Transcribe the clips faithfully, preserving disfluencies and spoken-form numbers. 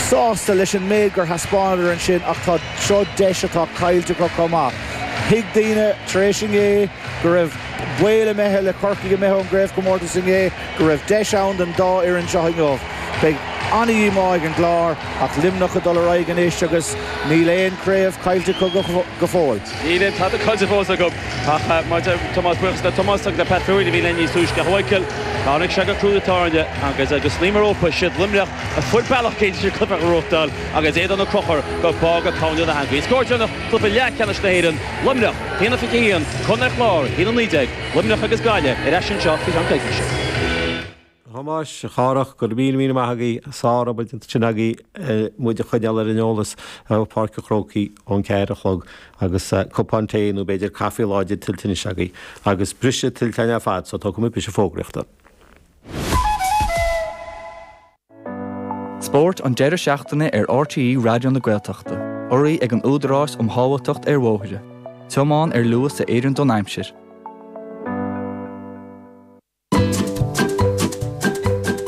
sásta leis an méid gur thaispeánadar ansin ach tá seo deis atá caillte acu chomh maith. Thuig daoine tar éis inné go raibh baol imithe le Corcaigh imithe ón gcraobhchomórtas inné go raibh deis ann don dá fhoireann seo inniu. Beidh an-dhíomá ag an gClár ach Luimneach ag dul ar aghaidh anois agus níl aon chraobh caillte acu go fóill. Níl aon tada caillte fós acu ach mar deir Tomás buíochas le Tomás agus le Pat Fury a bhí linn níos túisce. A Mhichael, tháinig sé go crú na tairne agus agus ní mar ópa siad Luimneach a fuair bealach cinnte cluiche a ghnóthachtáil agus éadan Ó Conchúir go bága cáineadh na heangaí. Scór deireanach cluiche leathcheannais na hÉireann, Luimneach, a haon a fiche a haon, Contae an Chláir, a haon a naoi déag, Luimneach agus Gaillimh ar ais anseo faoi cheann coicíse. A Thomáis, a Chárthach, go raibh míle míle maith agaibh, sárobair déanta ansin agaibh muid a choinneáil ar an eolas ó Pháirc an Chrócaigh ón ceathair a chlog agus cupán tae nó b'fhéidir caife láidir tuillte anois agaibh agus briseadh tuillte againn ar fad so tógfaidh muid briseadh fógraíochta. Spórt an deireadh seachtaine ar RTÉ Raidió na Gaeltachta, urraithe ag an Údarás um Shábháilteacht ar Bhóithre. Tiomáin ar luas a oireann don aimsir.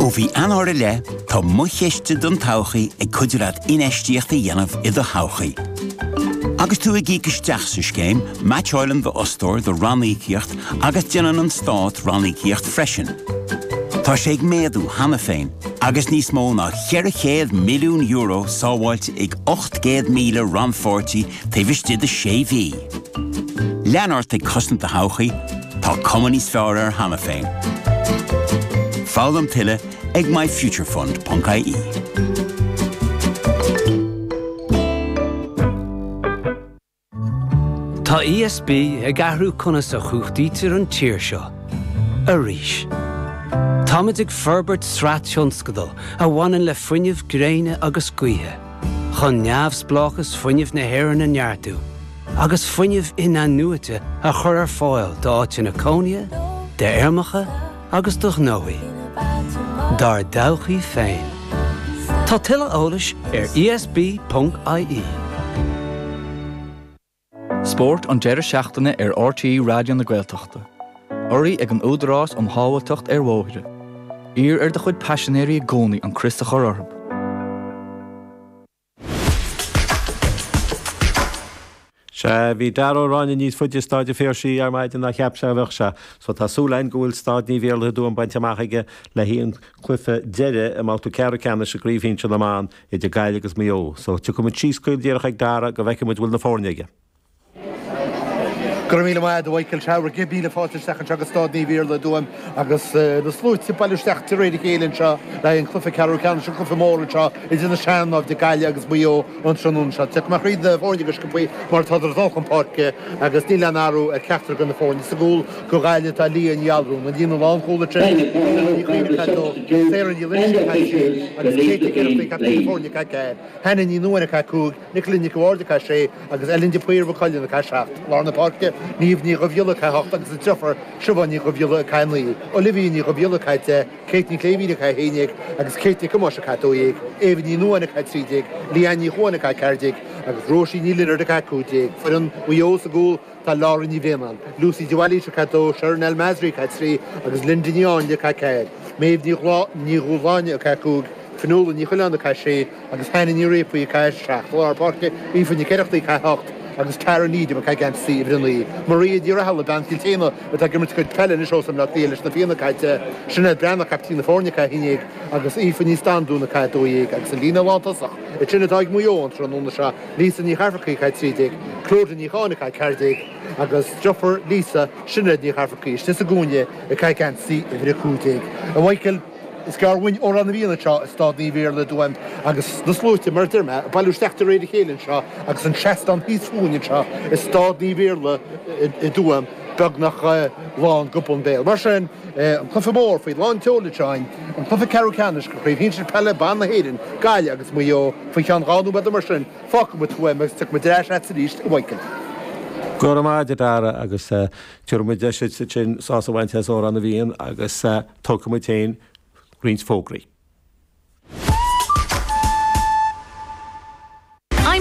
Ó mhí Eanáir i leith, tá Mo Chiste don Todhchaí ag cuidiú leat infheistíocht a dhéanamh i do thodhchaí. Agus tú ag íoc isteach sa scéim, meaitseálann d'fhostóir do ranníocaíocht agus déanann an Stát ranníocaíocht freisin. Tá sé ag méadú cheana féin, agus níos mó ná ceithre chéad milliún euro sábháilte ag ocht gcéad míle rannpháirtí taobh istigh de sé mhí. Lean ort ag cosaint do thodhchaí, tá cuma níos fearr air cheana féin. Foghlaim tuilleadh ag myfuturefund ponc ie. Tá ESB ag athrú conas a chumhachtaítear an tír seo. Arís. Táimid ag forbairt sraith tionscadal a bhaineann le fuinneamh gréine agus gaoithe, chun neamhspleáchas fuinnimh na hÉireann a neartú agus fuinneamh in-athnuaite a chur ar fáil d'áiteanna cónaithe, d'fheirmeacha agus do ghnóthaí. Dár dtodhchaí féin. Tá tuilleadh eolais ar esb.ie. Spórt an deireadh seachtaine ar RTÉ Raidió na Gaeltachta. Urraithe ag an Údarás um Shábháilteacht ar Bhóithre. Iarr ar do chuid paisinéirí i gcónaí an crios a chur orthu. Sea, bhí Dara Ó Ráinne níos faide i Staid an Phiarsaigh ar maidin ná cheap sé a bheadh sé. So tá súil againn go bhfuil Staid Naomh Iarlaith i dTuaim bainte amach aige le haghaidh an cluiche deiridh i mbabhta ceathrú ceannais i gCraobh Shinsir na mBan idir Gaillimh agus Maigh Eo. So tiocfaidh muid síos caol díreach ag Dara go bhfeicfidh muid bhfuil na foirne aige. Go raibh míle maith agat, a Mhichael. Sea, bhur gcéad míle fáilte isteach anseo go Staid Naomh Iarlaith i dTuaim agus na sluaite ag bailiú isteach de réir a chéile anseo le haghaidh an chluiche ceathrú ceannais, an cluiche mór anseo idir na sean-naimhde Gaillimh agus Maigh Eo an tráthnóna seo. Tiocfaidh mé thríd na foirne go sciobthaí mar atádar ag dul chun páirce agus níl aon athrú ar cheachtar de na foirne. Sa gcúl do Ghaillimh tá Leah Ní Allrúin, an líne lánchúil ansin, Ella Ní Chuinn ag a dó, Sarah Ní Loinsigh ag a trí agus Kate Nic Oireachtaigh, captaen na foirne, ag a ceathair, Hannah Ní Nuadháin ag a cúig, Nicola Nic a' Bhaird ag a sé agus Ellen de Paor Mhaigh Cuilinn ag a seacht. Lár na páirce, Niamh Ní Dhubhghiolla ag a hocht agus a deirfiúr Siobhán Ní Dhubhghiolla ag a naoi, Olivia Ní Dhubhghiolla ag a deich, Kate Ní Chléibhín ag a haon déag agus Kate Nic Thomáis ag a dó dhéag, Éabha Ní Nuadháin ag a trí déag, Leanne Ní Chuain ag a ceathair déag agus Róisín Ní Lionaird ag a cúig déag. Foireann Mhaigh Eo sa gcúl, Tá Laura Ní Bhraonáin, Lucy de Bhailís ag a dó, Sharon El Masri ag a trí agus Linda Ní Áinle ag a ceathair, Méabh Ní Dhúshláine ag a cúig, Fionnuala Ní Choileáin ag a sé agus Hannah Ní Réafaí ag a seacht. I lár páirce, Aoife Nic Oireachtaigh ag a hocht agus Tara Needham ag geansaí uimhir a naoi. Maria Ní Rathaille, bean Chill tSéadhna atá ag imirt a cuid peile anois ós i mBleá Cliath leis na Fianna ag a deich, Sinéad Breathnach, caiptín na foirne ag a haon déag agus Aoife Ní Standún ag a dó dhéag agus an líne lántosach ansin atá ag Maigh Eo an tráthnóna seo, Lisa Ní Chearfarcaigh ag a trí déag, Clodagh Ní Cháin ag a ceathair déag agus deirfiúr Lisa, Sinéad Ní Chearfarcaigh istigh sa gcúinne ag geansaí uimhir a cúig déag. A Mhichael, Is gearr uainn Órán na bhFiann anseo i Staid Naomh Iarlaith i dTuaim agus na sluaite, mar a deir mé, ag bailiú isteach de réir a chéile anseo agus an seastán thíos fúinn anseo i Staid Naomh Iarlaith i dTuaim beagnach lán go bun béil. Mar sin, an cluiche mór faoi lán tseoil anseo againn, an cluiche ceathrú ceannais de Chraobh Shinsir Peile Ban na hÉireann, Gaillimh agus Maigh Eo, faoi cheann dhá nóiméad mar sin, fágfaidh muid Tuaim agus tiocfaidh muid ar ais agat arís, a Mhichael. Go raibh maith agat, a Dhara, agus tabharfaidh muid deis duit ansin sásamh a bhaint as Órán na bhFiann agus tógfaidh muid féin roinnt fógraí.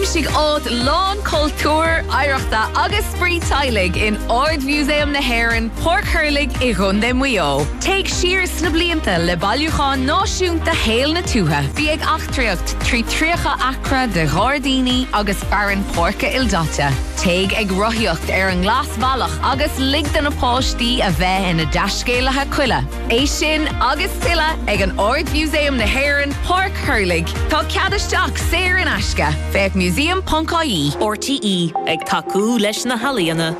Aimsigh áit lán cultúir, oidhreachta agus spraoi teaghlaigh in Ard-Mhúsaem na hÉireann, Páirc Thurlaigh i gContae Mhaigh Eo. Téigh siar sna blianta le bailiúchán náisiúnta shaol na tuaithe. Bí ag eachtraíocht trí tríocha acra de ghairdíní agus fearann páirce ildaite. Téigh ag rothaíocht ar an nGlasbhealach agus lig do na páistí a bheith ina dtaiscéalaithe coille. É sin agus tuilleadh ag an Ard-Mhúsaem na hÉireann, Páirc Thurlaigh. Tá cead isteach saor in aisce. Féach museum.ie. RTÉ ag tacú leis na healaíona.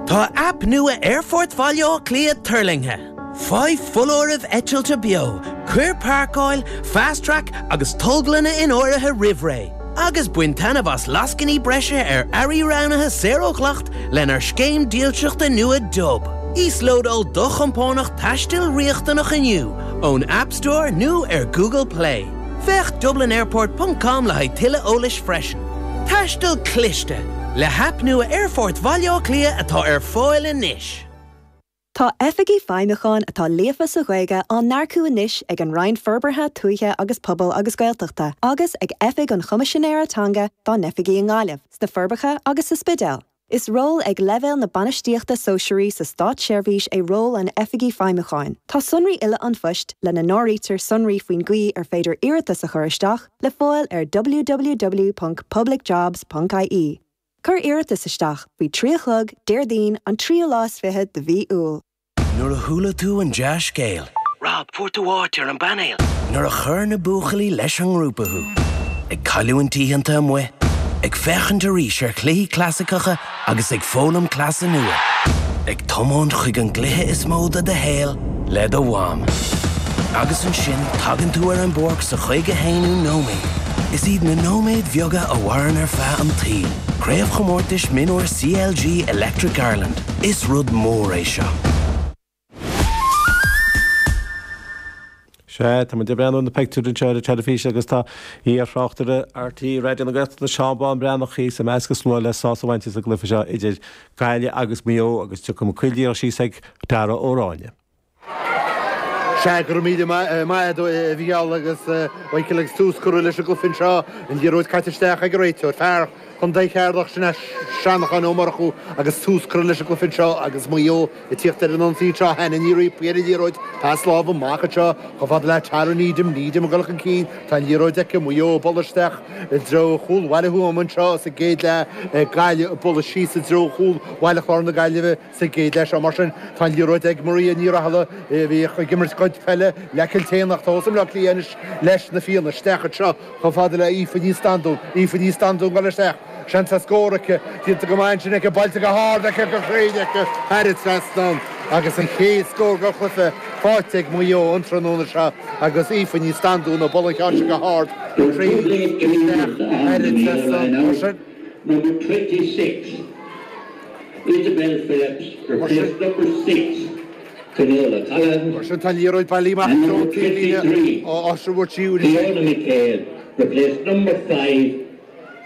Tá aip nua Aerfort Bhaile Átha Cliath tuirlingthe. Faigh foláirimh eitilte beo, cuir páirceáil, fast track agus tolglanna in áirithe roimh ré. Agus bain taitneamh as lascainí breise ar earraí roghnaithe saor ó dhleacht lenár scéim dílseachta nua Dub. Íoslódáil do chompánach taistil riachtanach inniu ón App Store nó ar Google Play. Féach DublinAirport.com le haghaidh tuilleadh eolais freisin. Taisteal cliste le haip nua Aerfort Bhaile Átha Cliath atá ar fáil anois. Tá oifigigh feidhmiúcháin atá líofa sa Ghaeilge á n-earcú anois ag an Roinn Forbartha Tuaithe agus Pobail agus Gaeltachta, agus ag Oifig an Choimisinéara Teanga dá n-oifigí i nGaillimh, sna Forbacha agus sa Spidéal. Is ról ag leibhéal na bainistíochta sóisearaí sa státseirbhís é ról an oifigigh feidhmiúcháin. Tá sonraí uile an phoist lena n-áirítear sonraí faoin gcaoi ar féidir iarratas a chur isteach le fáil ar www.publicjobs.ie. Cuir iarratas isteach faoi trí a chlog Déardaoin an tríú lá is fiche de mhí Iúil. Nuair a chuala tú an dea-scéal. Rob fuair tú áit ar an bpainéal. Nuair a chuir na buachaillí leis an ngrúpa thú. Ag cailliúint oícheanta amuigh, ag féachaint arís ar chluichí clasaiceacha agus ag foghlaim cleasa nua. Ag tiomáint chuig an gcluiche is mó de do shaol le do mham. Agus ansin tagann tú ar an bpáirc sa chaoga haonú nóiméad. Is iad na nóiméid bheaga a mhaireann ar feadh an tsaoil. Craobhchomórtais Mionúr CLG Electric Ireland. Is rud mór é seo. Sea, tá muid ag breathnú ar na pictiúir anseo ar an teilifís agus tá iar-thráchtaire RTÉ Raidió na Gaeltachta Seán Bán Breathnach thíos i measc an slua le sásamh a bhaint as an gcluiche seo idir Gaillimh agus Maigh Eo agus tiocfaidh Mac Coill síos ag Dara Ó Ráinne. Sea, go raibh míle maith agat a Mhícheál agus Michael agus tús curtha leis an gcluiche anseo, an liathróid caite isteach ag an réiteoir, fear Chontae Cheatharlach sin é Seanachán Ó Murchú agus tús curtha leis an gcluiche anseo agus Maigh Eo ag tíocht ar an ionsaí anseo Hannah Ní Riapaí ar an liathróid, pas láimhe amach anseo chomh fada le Tara Needham, Needham ag dul chun cinn, tá an liathróid aici, Maigh Eo ag bualadh isteach i dtreo chúl Bhaile Thuama anseo sa gcéad leath, Gaillimh ag bualadh síos i dtreo chúl Bhaile Chláir na Gaillimhe sa gcéad leath seo. Mar sin tá an liathróid ag Maria Ní Rathaille a bhíodh ag imirt cuid peile le Cill Téanach, tá i mBaile Átha Cliath anois leis na Fianna isteach anseo chomh fada le Aoife Ní Standún, Aoife Ní Standún ag dul isteach. Seans ar scór aici, déanta go maith ansin aici, buailte go hard aici, go cruinn aici, thar an trasnán agus an chéad scór den chluiche faighte ag Maigh Eo an tráthnóna seo agus Aoife Ní Standún ag bualadh an cheann sin go hard, go cruinn isteach thar an trasnán. Mar sin. Number twenty six, Isabel Phillips, replaced number six, Finola Collins. Mar sin tá an liathróid bailithe amach And ón number taobhlíne twenty three, á aistriú siúd. Fiona McHale, replaced number five,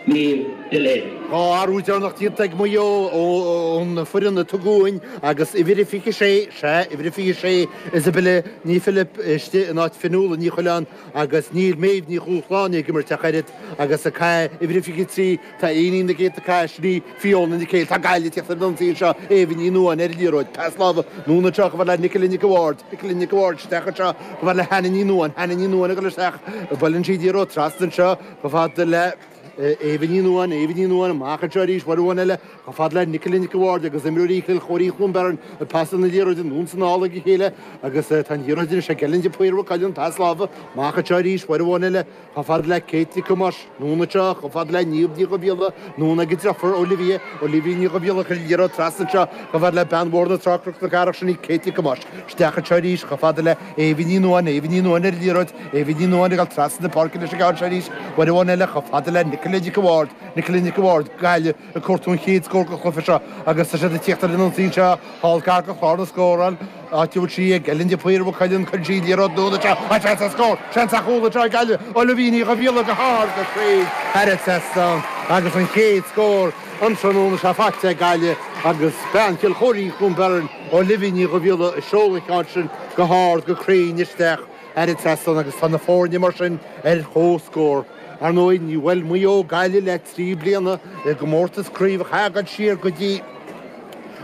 Niamh Delaney. Dhá athrú deireanach déanta ag Maigh Eo ón foireann a tugadh uainn agus uimhir a fiche sé, sea, uimhir a fiche sé, Isabella Ní Philip istigh in áit Fionnuala Ní Choileáin agus níl Méabh Ní Dhúshláine ag imirt ach oiread agus ag caitheamh uimhir a fiche trí, tá éinín na gcéadta caith, sin í Fiona Nic Héil. Tá Gaillimh ag tíocht ar an ionsaí anseo, Éabha Ní Nuadháin ar an liathróid, pas láimhe anonn anseo chomh fada le Nicola Nic a' Bhaird, Nicola Nic a' Bhaird isteach anseo chomh fada le Hannah Ní Nuadháin, Hannah Ní Nuadháin ag dul isteach, buaileann sí an liathróid trasna anseo chomh fada le Éabha Ní Nuadháin, Éabha Ní Nuadháin amach anseo arís, uair amháin eile, chomh fada le Nicola Nic a' Bhaird agus imreoirí Chill Chóirín Chluain Bheirn ag pasáil na liathróide anonn is anall ag a chéile agus tá an liathróid anois ag Ellen de Paor Mhaigh Cuilinn, pas láimhe amach anseo arís, uair amháin eile, chomh fada le Kate Nic Thomáis, anonn anseo, chomh fada le Niamh Ní Dhubhghiolla, anonn ag a deirfiúr Olivia, Olivia Ní Dhubhghiolla, chuir an liathróid trasna anseo, chomh fada le bean Bhóthar na Trá Cnoc na Cathrach, sin í Kate Nic Thomáis, isteach anseo arís, chomh fada le Éabha Ní Nuadháin, Éabha Ní Nuadháin ar an liathróid, Éabha Ní Nuadháin ag dul trasna na páirce leis an gceann seo arís, uair amháin eile, chomh fada le Nicola Nic a' Bhaird, Nicola Nic a' Bhaird, Gaillimh ag cuartú an chéad scór den chluiche seo agus tá siad ag tíocht ar an ionsaí anseo, thall gar do chlár na scórála, áit a bhfuil sí ag Ellen de Paor Mhaigh Cuilinn, cuireann sí liathróid anonn anseo, tá seans ar scór, seans ar chúl anseo ag Gaillimh, Olivia Ní Dhubhghiolla go hard go cruinn thar an trasnán agus an chéad scór an tráthnóna seo faighte ag Gaillimh agus bean Chill Chóirín Chluain Bheirn, Olivia Ní Dhubhghiolla ag seoladh an ceann sin go hard go cruinn isteach thar an trasnán agus tá na foirne mar sin ar chomhscór. Ar ndóigh níor bhuail Maigh Eo Gaillimh le trí bliana i gcomórtas craoibhe ach siar go dtí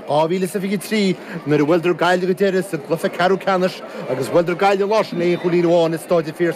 dhá mhíle is a fiche trí nuair a bhuaileadar Gaillimh go deireadh sa gcluiche ceathrú ceannais agus bhuaileadar Gaillimh lá sin le aon chúilín amháin i Staid an Phiarsaigh.